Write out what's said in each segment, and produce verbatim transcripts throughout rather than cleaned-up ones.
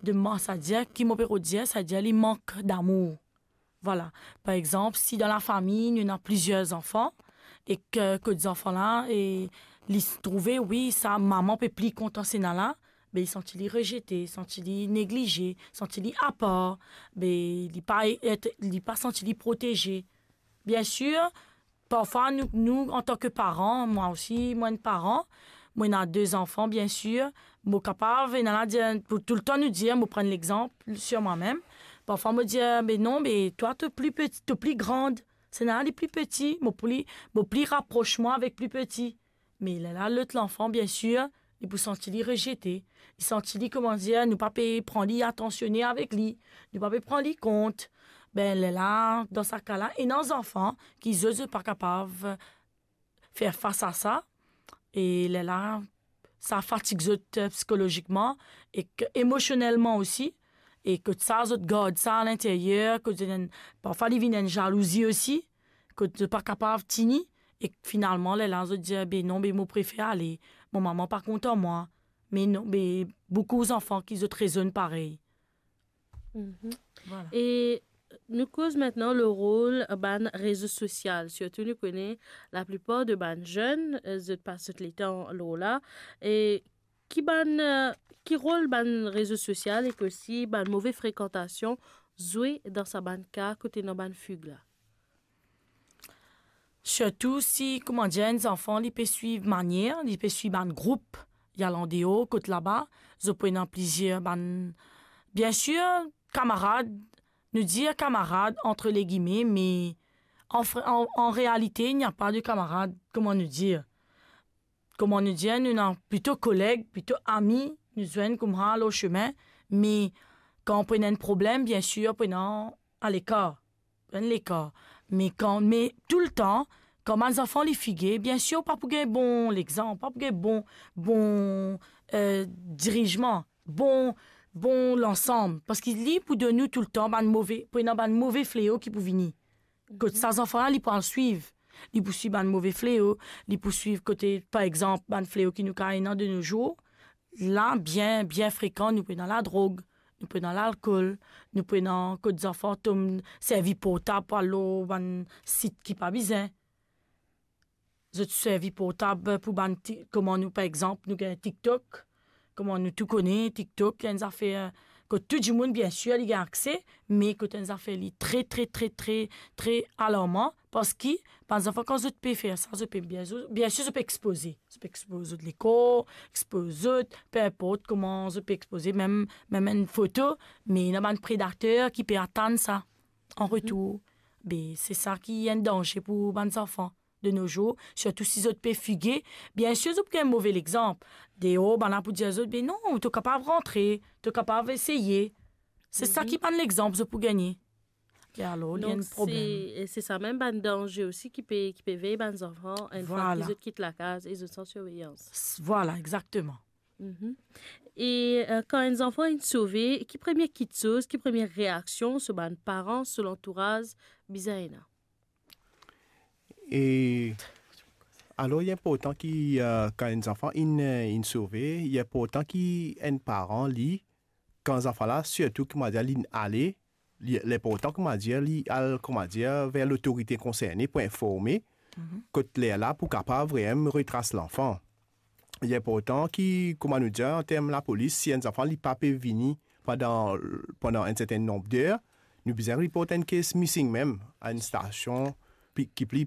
de man-, savedir ki mo pe rod dir, savedir li mank damour. Vwala. Par exanp, si dan lafami nou ena plizier zanfan, e ke, kot zanfan la, e li trouve, wi, sa mama pe pli kontan sena la, be li santi li rezete, santi li neglize, santi li apar, be li pa et, li pa santi li proteze. Biensir, parfwa nou, nou, antan ke paran, mwa osi, mo enn paran, mo ena de zanfan, biensir, mo kapav, ena la dir, pou toultan nou dir, mo pran lexanp sir mwa mem. Parfwa mo dir, "Be non, be twa to pli peti, to pli grand, sena li pli peti, mo pli, mo pli rapros mwa avek pli peti." Me lerla lot lanfan, biensir, li pou santi li rezete, li santi li, kouma dir, nou pa pe pran li, atansione avek li, nou pa pe pran li kont. Be lerla, dan sa ka la, ena zanfan ki zot, zot pa kapav fer fas a sa, e lerla, sa fatig zot, eh, psikolozikman ek emosionelman osi, e kot sa, zot gard sa alinteryer, kot zot enn, parfwa li vinn enn zalouzi osi, kot zot pa kapav tini, e finalman, lerla, zot dir, "Be non, be mo prefer ale, mo mama pa kontan mwa." Me non, be boukou zanfan ki zot rezonn parey. Mhm. Vwala. E nou koz aster lor rol bann rezo sosial, sirtou nou kone laplipar de bann zenn, eh, zot pas zot letan lor la. E ki bann, eh, ki rol bann rezo sosial ek osi bann move frekantasion zwe dan sa bann ka kot ena bann fig la? Sirtou si, kouma dir, enn zanfan li pe swiv manier, li pe swiv bann group, li al andeor, kot laba, zot pou ena plizier bann, biensir, kamarad, nou dir kamarad ant legime, me an fr-, an, an realite, il n'y a pas de camarade, kouma nou dir. Kouma nou dir, nou ena plito koleg, plito ami, nou zwenn kouma lor sime, me kan pou ena enn problem, biensir, pou ena alekar. Enn lekar. Me kan, me toultan, kan bann zanfan li fige, biensir, ou pa pou gagn bon lexanp, ou pa pou gagn bon, bon, eh, dirizman, bon, bon lansam. Parski li pou donn nou toultan bann move, pou ena bann move fleo ki pou vini. Kot sa zanfan la, li pou al swiv. Li pou swiv bann move fleo, li pou swiv kote, par exanp, bann fleo ki nou kapav ena de nos jours, la, bien, bien frekan, nou pou ena ladrog, nou pou ena lalkol, nou pou ena kot zanfan tom servi portab pou al lor bann sit ki pa bizin. Zot servi portab pou bann ti-, kouma nou, par exanp, nou gagn TikTok, kouma nou tou kone, TikTok, enn zafer kot tou dimoun, biensir, li gagn akse, me kot enn zafer li tre, tre, tre, tre, tre alarman, parski bann zanfan, kan zot pe fer sa, zot pe bien, biensir, zot pe expoze. Zot pe expoz zot lekor, expoz zot, pe inport kouma zot pe expoze, mem, mem enn foto, me ena bann predater ki pe atann sa an retour. Be, se sa ki enn danze pou bann zanfan de nos jours, sirtou si zot pe fige. Biensir, zot pou gagn move lexanp. Deor, bann la pou dir zot, "Be non, to kapav rantre, to kapav eseye." Se sa ki bann lexanp zot pou gagne. E alor, li enn problem. Donk, se, se sa mem bann danze osi ki pe, ki pe vey bann zanfan, enn fwa ki zot kit lakaz e zot san sirveyans. Vwala, exakteman. Mhm. E, eh, kan enn zanfan inn sove, ki premie kitsoz, ki premie reaksion so bann paran, so lantouraz bizin ena? E alor, li inportan ki, eh, kan enn zanfan inn, eh, inn sove, li inportan ki enn paran, li, kan zanfan la, sirtou, kouma dir, li ale, li, li inportan, kouma dir, li al, kouma dir, ver lotorite konserne pou informe, kot lerla pou kapav vremem retras lanfan. Li inportan ki, kouma nou dir, an term lapolis, si enn zanfan li pa pe vini pandan, pandan enn sertenn nonb der, nou bizin report enn case missing mem a enn stasion pli, ki pli,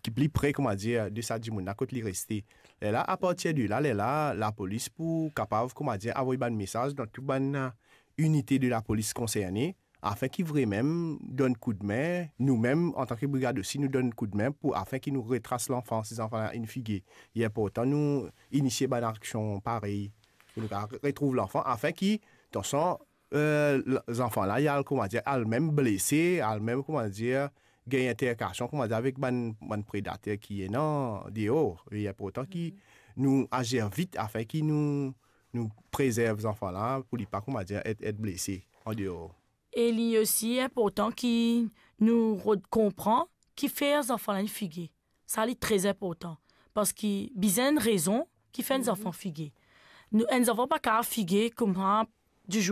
ki pli pre, kouma dir, de sa dimoun la kot li reste. Lerla, apartir de la, lerla, lapolis pou kapav, kouma dir, avoy bann mesaz dan tou bann, eh, inite de lapolis konserne, afin ki vremem donn koudme, noumem, antan ki brigad osi, nou donn koudme pou, afin ki nou retras lanfan, si zanfan la inn fige. Li inportan nou inisie bann aksion parey, pou nou kapav retrouv lanfan, afin ki, tansion, eh, l-, zanfan la, li al, kouma dir, al mem blese, al mem, kouma dir, gagn alterkasion, kouma dir, avek bann, bann predater ki ena deor. Li inportan ki nou azir vit, afin ki nou, nou prezerv zanfan la, pou li pa, kouma dir, et, et blese an deor. E li osi inportan ki nou rod konpran kifer zanfan la inn fige. Sa li tre inportan. Parski bizin enn rezon ki fer enn zanfan fige. Nou, enn zanfan pa kapav fige kouma